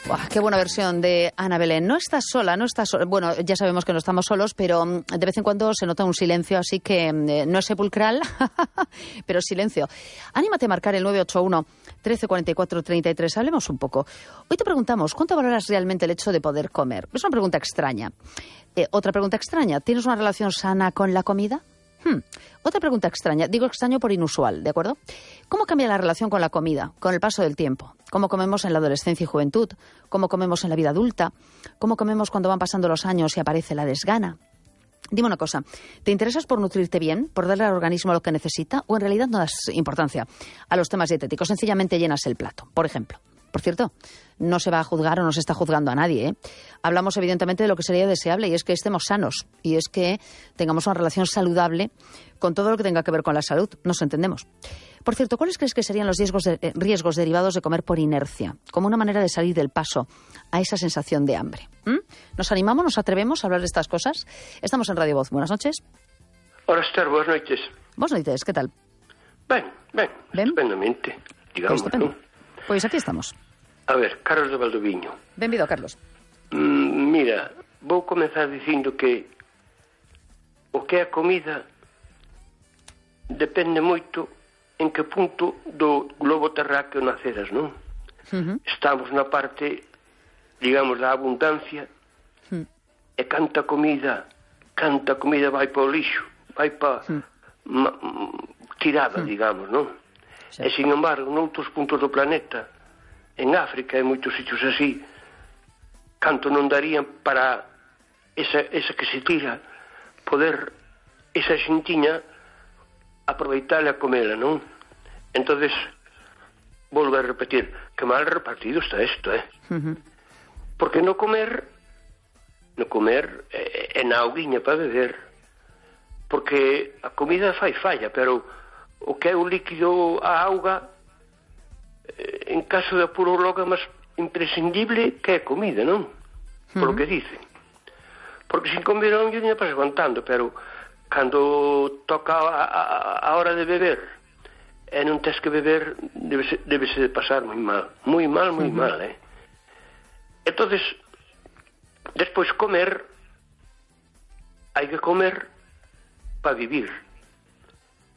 Buah, qué buena versión de Ana Belén. No estás sola, no estás sola. Bueno, ya sabemos que no estamos solos, pero de vez en cuando se nota un silencio, así que no es sepulcral, pero silencio. Anímate a marcar el 981 1344 33. Hablemos un poco. Hoy te preguntamos, ¿cuánto valoras realmente el hecho de poder comer? Es una pregunta extraña. Otra pregunta extraña, ¿tienes una relación sana con la comida? Otra pregunta extraña, digo extraño por inusual, ¿de acuerdo? ¿Cómo cambia la relación con la comida, con el paso del tiempo? ¿Cómo comemos en la adolescencia y juventud? ¿Cómo comemos en la vida adulta? ¿Cómo comemos cuando van pasando los años y aparece la desgana? Dime una cosa, ¿te interesas por nutrirte bien, por darle al organismo lo que necesita, o en realidad no das importancia a los temas dietéticos? Sencillamente llenas el plato, por ejemplo. Por cierto, no se va a juzgar o no se está juzgando a nadie, ¿eh? Hablamos evidentemente de lo que sería deseable, y es que estemos sanos, y es que tengamos una relación saludable con todo lo que tenga que ver con la salud. Nos entendemos. Por cierto, ¿cuáles crees que serían los riesgos derivados de comer por inercia? Como una manera de salir del paso a esa sensación de hambre. ¿Nos animamos, nos atrevemos a hablar de estas cosas? Estamos en Radio Voz. Buenas noches. Hola, Esther, buenas noches. Buenas noches, ¿qué tal? Ben, estupendamente, digamos, Estupendo. ¿no? Pois aquí estamos. A ver, Carlos de Valdoviño. Benvido, Carlos. Mira, vou comenzar dicindo que o que é a comida depende moito en que punto do globo terráqueo naceras, non? Estamos na parte, digamos, da abundancia, e canta comida vai para o lixo, vai para tirada, digamos, non? Sí. E, sin embargo, noutros puntos do planeta, en África e moitos sitios así, canto non darían para esa que se tira, poder esa xintiña aproveitarla a comela, non? Entonces, volvo a repetir, que mal repartido está isto, Porque no comer é na auguiña para beber, porque a comida fai falla, pero o que é o líquido, a auga, en caso de apuro logo é máis imprescindible que é comida, non? Por lo que dicen. Porque sin comer non lle pas aguantando, pero cando toca a hora de beber e non tes que beber, debese de pasar moi mal, Entonces, despois comer, hai que comer para vivir,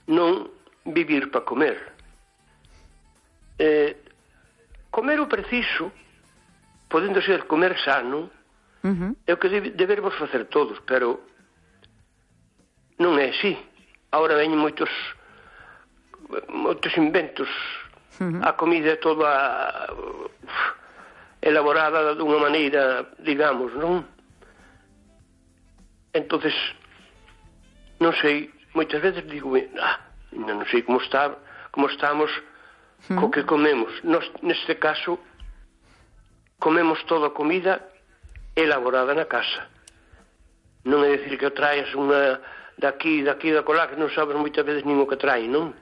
non vivir para comer. Comer o preciso, podendo ser comer sano, é o que deberemos facer todos, pero non é así. Ahora veñen moitos inventos. A comida é toda elaborada dunha maneira, digamos, non? Entonces, non sei, moitas veces digo, non sei como estamos co que comemos. Nos, neste caso, comemos toda a comida elaborada na casa. Non é dicir que traes unha daqui da colá, que non sabes moitas veces nin o que trae, non?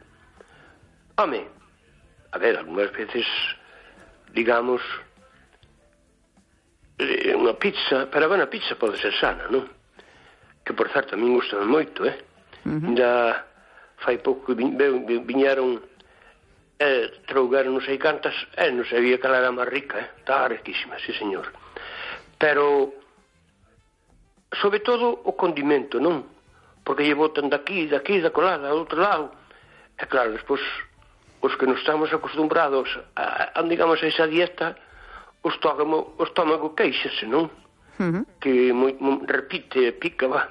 Home, a ver, algunhas veces, digamos, unha pizza, pero a pizza pode ser sana, non? Que, por certo, a min gusta moito, Ainda fai pouco que viñeron trougaron non sei cantas, non sabía que ela era máis rica, estaba riquísima, sí señor. Pero sobre todo o condimento, non? Porque lle botan daqui, da colada, do outro lado. E claro, despois os que non estamos acostumbrados a digamos, a esa dieta, o estómago queixase, non? Que repite, pica, va.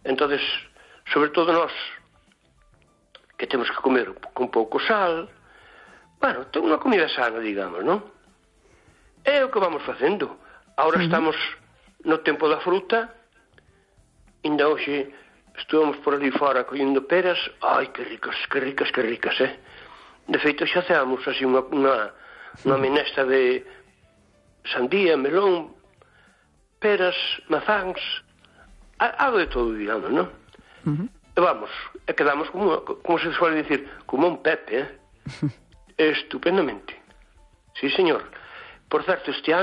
Entonces, sobre todo nós, que temos que comer con pouco sal, bueno, ten unha comida sana, digamos, non? É o que vamos facendo. Agora estamos no tempo da fruta, ainda hoxe estuvamos por ali fora collendo peras, ai, que ricas, De feito, xa hacemos así unha menestra de sandía, melón, peras, mazáns, algo de todo, digamos, non? E vamos, e quedamos como se suele dicir, como un Pepe, Estupendamente. Sí, señor. Por certo, este ano